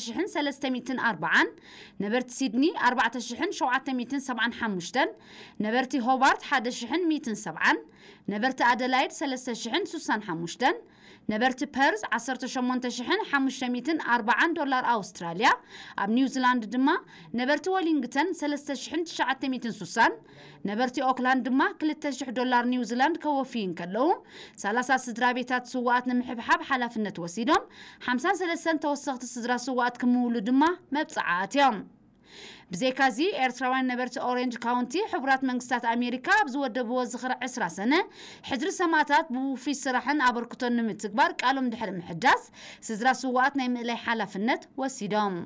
ሽሕን ሰለስተ ሚእትን ኣርባዓን፣ ነበርቲ ሲድኒ ኣርባዕተ ሽሕን ሸውዓተ ሚእትን ሰብዓን ሓሙሽተን፣ ነበርቲ ሆባርት ሓደ ሽሕን ሚእትን ሰብዓን፣ ነበርቲ ኣደላይድ ሰለስተ ሽሕን ሱሳን ሓሙሽተን፣ ነበርቲ ፐርዝ ዓሰርተ ሸሞንተ ሽሕን ሓሙሽተ ሚእትን ኣርባዓን ዶላር ኣውስትራልያ፣ ኣብ ኒውዚላንድ ድማ ነበርቲ ወሊንግተን ሰለስተ ሽሕን ትሽዓተ ሚእትን ሱሳን፣ ነበርቲ ኦክላንድ ድማ ክልተ ሽሕ ዶላር ኒውዚላንድ ከወፍዩ እንከለዉ፣ ሰላሳ ስድራ ቤታት ስውኣት ንምሕብሓብ ሓላፍነት ወሲዶም፣ ሓምሳን ሰለስተን ተወሰኽቲ ስድራ ስውኣት ክምውሉ ድማ መብጽዓ ኣትዮም። ብዘይካዚ፣ ኤርትራውያን ነበርቲ ኦሬንጅ ካውንቲ፣ ሕቡራት መንግስታት ኣሜሪካ ኣብ ዝወደብዎ ዝኽሪ ዕስራ ሰነ፣ ሕድሪ ሰማእታት ብውፉይ ስራሕን ኣበርክቶን ንምትግባር ቃሎም ድሕሪ ምሕዳስ፣ ስድራ ስውኣት ናይ ምእላይ ሓላፍነት ወሲዶም።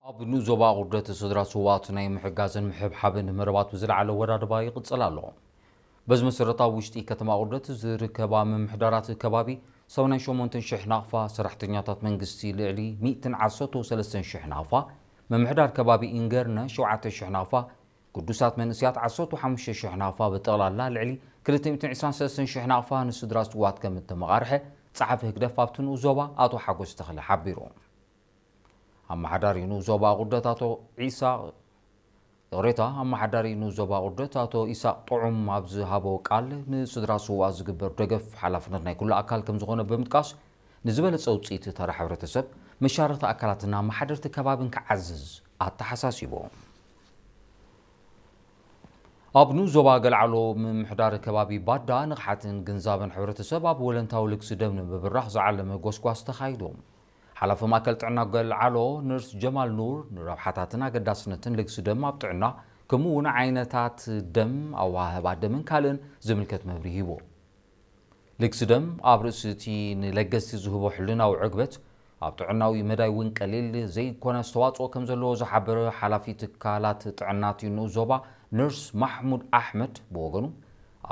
ኣብ ንኡስ ዞባ ቁርደት ስድራ ስውኣት ናይ ምሕጋዝን ምሕብሓብን መደባት ብዝለዓለ ወዳድባ ይቕጽል ኣሎ። በዚ መሰረት፣ ኣብ ውሽጢ ከተማ ቁርደት ዝርከባ ምምሕዳራት ከባቢ ሰብዓን ሸሞንተን ሽሕ ናቕፋ፣ ሰራሕተኛታት መንግስቲ ልዕሊ ሚእትን ዓሰርተ ሰለስተን ሽሕ ናቕፋ፣ ምምሕዳር ከባቢ ኢንገርነ ሸውዓተ ሽሕ ናቕፋ፣ ግዱሳት መንእሰያት ዓሰርተ ሓሙሽተ ሽሕ ናቕፋ፣ ብጠቕላላ ልዕሊ ክልተ ሚእትን ዕስራን ሰለስተን ሽሕ ናቕፋ ንስድራ ስውኣት ከም እተመቓርሐ ጸሓፊ ህግደፍ ኣብቲ ንኡስ ዞባ ኣቶ ሓጎስ ተኽለ ሓቢሩ። ኣመሓዳሪ ንኡስ ዞባ ቁርደት ኣቶ ኢሳቕ፣ ይቕሬታ፣ ኣመሓዳሪ ንኡስ ዞባ ቁርደት ኣቶ ኢሳቕ ጥዑም ኣብ ዝሃቦ ቃል፣ ንስድራ ስውኣት ዝግበር ደገፍ ሓላፍነት ናይ ኩሉ ኣካል ከም ዝኾነ ብምጥቃስ፣ ንዝበለጸ ውጽኢት ተራ ሕብረተሰብ፣ መሻርኽቲ ኣካላትን ኣመሓደርቲ ከባብን ክዓዝዝ ኣተሓሳሲቡ። ኣብ ንኡስ ዞባ ገልዓሎ ምምሕዳር ከባቢ ባዳ ንቕሓትን ግንዛበን ሕብረተሰብ ኣብ ወለንታዊ ልግሲ ደም ንምብራኽ ዝዓለመ ጎስጓስ ተኻይዱ። ሓላፊ ማእከል ጥዕና ገልዓሎ ነርስ ጀማል ኑር፣ ንረብሓታትን ኣገዳስነትን ልግሲ ደም ኣብ ጥዕና፣ ከምኡ እውን ዓይነታት ደም፣ ኣወሃህባ ደምን ካልእን ዝምልከት መብርሂ ሂቡ። ልግሲ ደም ኣብ ርእሲ እቲ ንለገስቲ ዝህቦ ሕልናዊ ዕግበት፣ ኣብ ጥዕናዊ መዳይ እውን ቀሊል ዘይኮነ ኣስተዋጽኦ ከም ዘለዎ ዝሓበረ ሓላፊ ትካላት ጥዕና እቲ ንኡስ ዞባ ነርስ ማሕሙድ ኣሕመድ ብወገኑ፣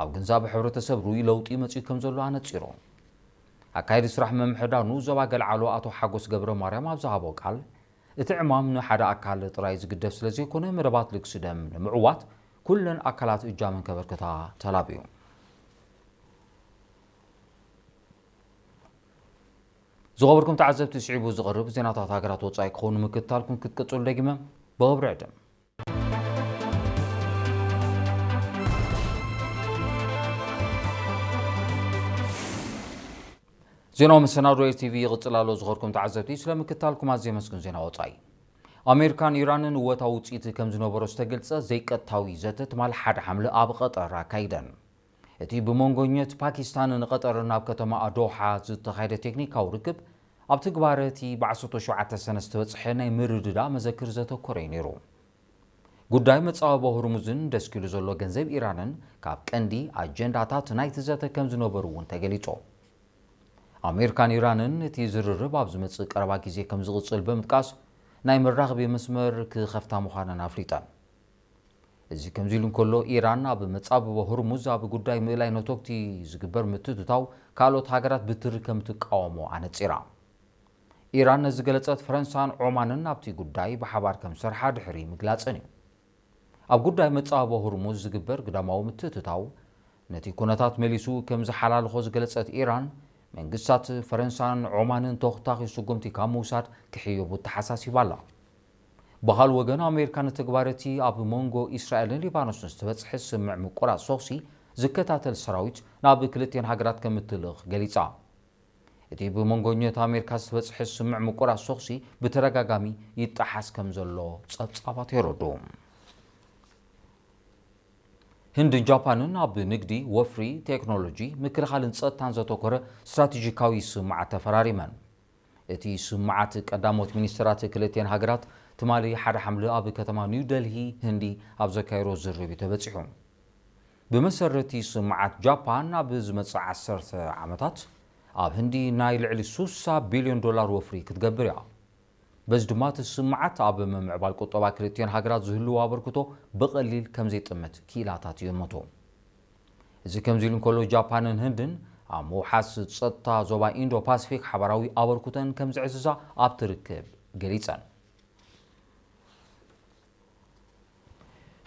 ኣብ ግንዛበ ሕብረተሰብ ርኡይ ለውጢ መጺኡ ከም ዘሎ ኣነጺሩ። ኣካየዲ ስራሕ ምምሕዳር ንኡስ ዞባ ገልዓሎ ኣቶ ሓጎስ ገብረ ማርያም ኣብ ዝሃቦ ቃል፣ እቲ ዕማም ንሓደ ኣካል ጥራይ ዝግደፍ ስለ ዘይኮነ፣ መደባት ልግሲ ደም ንምዕዋት ኩለን ኣካላት እጃመን ከበርክታ ተላብዩ። ዝኸበርኩም ተዓዘብቲ፣ ስዒቡ ዝቐርብ ዜናታት ሃገራት ወጻኢ ክኾኑ ምክትታልኩም ክትቅጽሉ ደጊመ ብኽብሪ ዕድም። ዜናዊ መሰናዶ ኤር ቲ ቪ ይቕጽል ኣሎ። ዝኸበርኩም ተዓዘብቲ፣ ስለ ምክትታልኩም ኣዝየ የመስግን። ዜና ወጻኢ። ኣሜሪካን ኢራንን እወታዊ ውጽኢት ከም ዝነበሮ ዝተገልጸ ዘይቀጥታዊ ዘተ ትማሊ ሓደ ሓምለ ኣብ ቐጠር ኣካይደን። እቲ ብመንጎኘት ፓኪስታንን ቐጠርን ኣብ ከተማ ዶሓ ዝተኻየደ ቴክኒካዊ ርክብ፣ ኣብ ትግባረ እቲ ብዓሰርተ ሸውዓተ ሰነ ዝተበጽሐ ናይ ምርድዳእ መዘክር ዘተኮረ እዩ ነይሩ። ጉዳይ መጻብቦ ሆርሙዝን ደስኪሉ ዘሎ ገንዘብ ኢራንን ካብ ቀንዲ ኣጀንዳታት ናይቲ ዘተ ከም ዝነበሩ እውን ተገሊጹ። ኣሜሪካን ኢራንን እቲ ዝርርብ ኣብ ዝመጽእ ቀረባ ግዜ ከም ዝቕጽል ብምጥቃስ፣ ናይ መራኸቢ መስመር ክኸፍታ ምዃነን ኣፍሊጠን። እዚ ከምዚ ኢሉ እንከሎ፣ ኢራን ኣብ መጻብቦ ሆርሙዝ ኣብ ጉዳይ ምእላይ ነቶግቲ ዝግበር ምትእትታው ካልኦት ሃገራት ብትሪ ከም ትቃወሞ ኣነጺራ። ኢራን ነዚ ገለጸት፣ ፈረንሳን ዖማንን ኣብቲ ጉዳይ ብሓባር ከም ዝሰርሓ ድሕሪ ምግላጸን እዩ። ኣብ ጉዳይ መጻብቦ ሆርሙዝ ዝግበር ግዳማዊ ምትእትታው፣ ነቲ ኩነታት መሊሱ ከም ዝሓላልኾ ዝገለጸት ኢራን፣ መንግስታት ፈረንሳን ዖማንን ተኹታኺ ስጉምቲ ካብ ምውሳድ ክሕየቡ ተሓሳሲባ ኣላ። ብኻልእ ወገን፣ ኣሜሪካ ንተግባር እቲ ኣብ መንጎ እስራኤልን ሊባኖስን ዝተበጽሐ ስምምዕ ምቁራጽ ተኹሲ ዝከታተል ሰራዊት ናብ ክልቲኤን ሃገራት ከም እትልእኽ ገሊጻ። እቲ ብመንጎኘት ኣሜሪካ ዝተበጽሐ ስምምዕ ምቁራጽ ተኹሲ ብተደጋጋሚ ይጠሓስ ከም ዘሎ ጸብጻባት የረድኡ። ህንድን ጃፓንን ኣብ ንግዲ፣ ወፍሪ፣ ቴክኖሎጂ፣ ምክልኻልን ጸጥታን ዘተኮረ ስትራቴጂካዊ ስምምዓት ተፈራሪመን። እቲ ስምምዓት ቀዳሞት ሚኒስትራት ክልቲኤን ሃገራት ትማሊ ሓደ ሓምለ ኣብ ከተማ ኒው ደልሂ ህንዲ ኣብ ዘካየዶ ዝርርብ እዩ ተበጺሑ። ብመሰረት እቲ ስምምዓት፣ ጃፓን ኣብ ዝመጽእ ዓሰርተ ዓመታት ኣብ ህንዲ ናይ ልዕሊ ሱሳ ቢልዮን ዶላር ወፍሪ ክትገብር እያ። በዚ ድማ እቲ ስምምዓት ኣብ ምምዕባል ቁጠባ ክልቲኤን ሃገራት ዝህልዎ ኣበርክቶ ብቐሊል ከም ዘይጥምት ክኢላታት ይእምቱ። እዚ ከምዚ ኢሉ እንከሎ፣ ጃፓንን ህንድን ኣብ ምውሓስ ጸጥታ ዞባ ኢንዶ ፓሲፊክ ሓባራዊ ኣበርክቶን ከም ዘዕዝዛ ኣብቲ ርክብ ገሊጸን።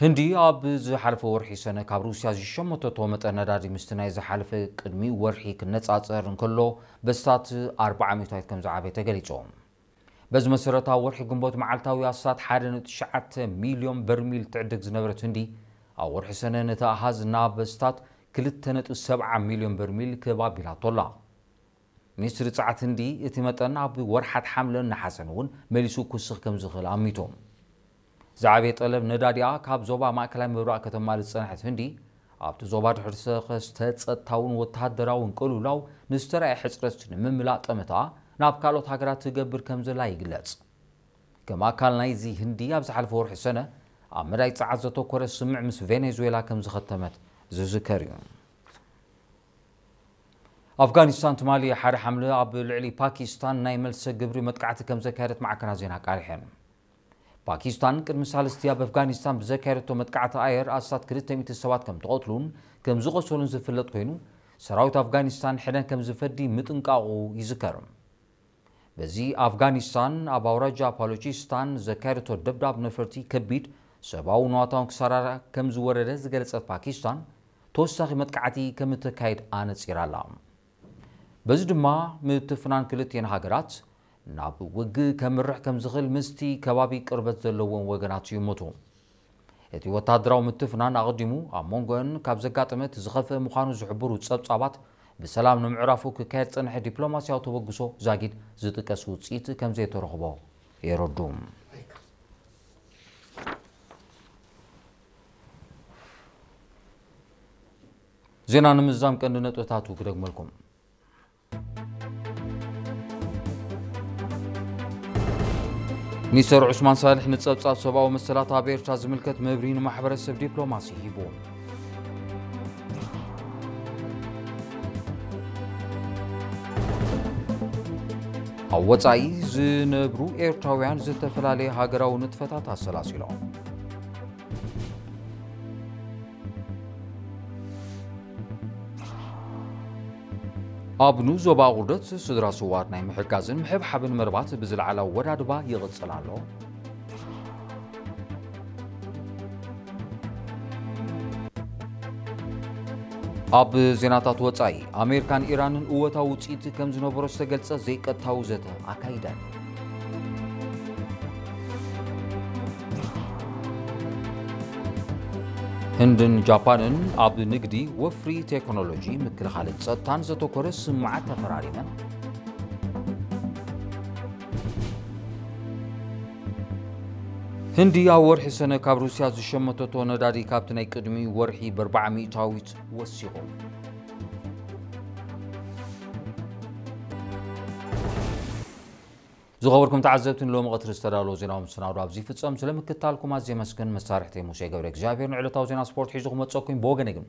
ህንዲ ኣብ ዝሓለፈ ወርሒ ሰነ ካብ ሩስያ ዝሸመተቶ መጠን ነዳዲ ምስቲ ናይ ዝሓለፈ ቅድሚ ወርሒ ክነጻጸር እንከሎ በስታት ኣርባዓ ሚእታዊት ከም ዝዓበየ ተገሊጹ። በዚ መሰረት፣ ኣብ ወርሒ ግንቦት መዓልታዊ ኣስታት ሓደ ነጥቢ ትሽዓተ ሚልዮን በርሚል ትዕድግ ዝነበረት ህንዲ፣ ኣብ ወርሒ ሰነ ነቲ ኣሃዝ ናብ ኣስታት ክልተ ነጥቢ ሰብዓ ሚልዮን በርሚል ክብ ኣቢላቶ ኣላ። ሚኒስትሪ ጸዓት ህንዲ፣ እቲ መጠን ኣብ ወርሓት ሓምለን ነሓሰን እውን መሊሱ ክውስኽ ከም ዝኽእል ኣሚቱ። ዝዓበየ ጠለብ ነዳዲኣ ካብ ዞባ ማእከላይ ምብራቕ ከተማልእ ዝጸንሐት ህንዲ፣ ኣብቲ ዞባ ድሕሪ ዝተኸስተ ጸጥታውን ወተሃደራውን ቅልውላው ንዝተራእየ ሕጽረት ንምምላእ ጠመታ ናብ ካልኦት ሃገራት ትገብር ከም ዘላ ይግለጽ። ከም ኣካል ናይዚ፣ ህንዲ ኣብ ዝሓለፈ ወርሒ ሰነ ኣብ መዳይ ጸዓት ዘተኮረ ስምምዕ ምስ ቬኔዙዌላ ከም ዝኸተመት ዝዝከር እዩ። ኣፍጋኒስታን ትማሊ ሓደ ሓምለ ኣብ ልዕሊ ፓኪስታን ናይ መልሰ ግብሪ መጥቃዕቲ ከም ዘካየደት ማዕከናት ዜና ኣቃሊሐን። ፓኪስታን ቅድሚ ሳልስቲ ኣብ ኣፍጋኒስታን ብዘካየደቶ መጥቃዕቲ ኣየር ኣስታት ክልተ ሚእቲ ሰባት ከም ተቐትሉን ከም ዝቖሰሉን ዝፍለጥ ኮይኑ፣ ሰራዊት ኣፍጋኒስታን ሕነ ከም ዝፈዲ ምጥንቃቑ ይዝከር። በዚ ኣፍጋኒስታን ኣብ ኣውራጃ ፓሎቺስታን ዘካየደቶ ደብዳብ ነፈርቲ ከቢድ ሰብኣዊ ንዋታውን ክሳራ ከም ዝወረደ ዝገለጸት ፓኪስታን፣ ተወሳኺ መጥቃዕቲ ከም እተካይድ ኣነጺራ ኣላ። በዚ ድማ ምትፍናን ክልቲኤን ሃገራት ናብ ውግእ ከምርሕ ከም ዝኽእል ምስቲ ከባቢ ቅርበት ዘለዎም ወገናት ይእምቱ። እቲ ወተሃደራዊ ምትፍናን ኣቐዲሙ ኣብ መንጎአን ካብ ዘጋጠመ እቲ ዝኸፍአ ምዃኑ ዝሕብሩ ጸብጻባት፣ ብሰላም ንምዕራፉ ክካየድ ዝጸንሐ ዲፕሎማስያዊ ተበግሶ ዛጊድ ዝጥቀስ ውጽኢት ከም ዘይተረኽቦ የረዱ። ዜና ንምዝዛም ቀንዲ ነጥብታቱ ክደግመልኩም። ሚኒስተር ዑስማን ሳልሕ ንጸብጻብ ሰብኣዊ መሰላት ኣብ ኤርትራ ዝምልከት መብርሂ ንማሕበረሰብ ዲፕሎማሲ ሂቡ። ኣብ ወጻኢ ዝነብሩ ኤርትራውያን ዝተፈላለየ ሃገራዊ ንጥፈታት ኣሰላሲሎም። ኣብ ንኡስ ዞባ ኣቑርደት ስድራ ስውኣት ናይ ምሕጋዝን ምሕብሓብን መርባት ብዝለዓለ ኣወዳድባ ይቕጽል ኣሎ። ኣብ ዜናታት ወጻኢ፣ ኣሜሪካን ኢራንን እወታዊ ውጽኢት ከም ዝነበሮ ዝተገልጸ ዘይቀጥታዊ ዘተ ኣካይደን። ህንድን ጃፓንን ኣብ ንግዲ፣ ወፍሪ፣ ቴክኖሎጂ፣ ምክልኻልን ጸጥታን ዘተኮረ ስምምዓት ተፈራሪመን። ህንዲ ኣብ ወርሒ ሰነ ካብ ሩስያ ዝሸመተቶ ነዳዲ ካብቲ ናይ ቅድሚ ወርሒ ብኣርባዓ ሚእታዊት ወሲኹ። ዝኸበርኩም ተዓዘብቲ፣ ንሎሚ ቀትሪ ዝተዳለወ ዜናዊ መሰናዶ ኣብዚ ይፍጸም። ስለ ምክትታልኩም ኣዝየ የመስግን። መሳርሕተይ ሙሴ ገብረ እግዚኣብሔር ንዕለታዊ ዜና ስፖርት ሒዙ ክመጸኩም። ብወገነይ ግን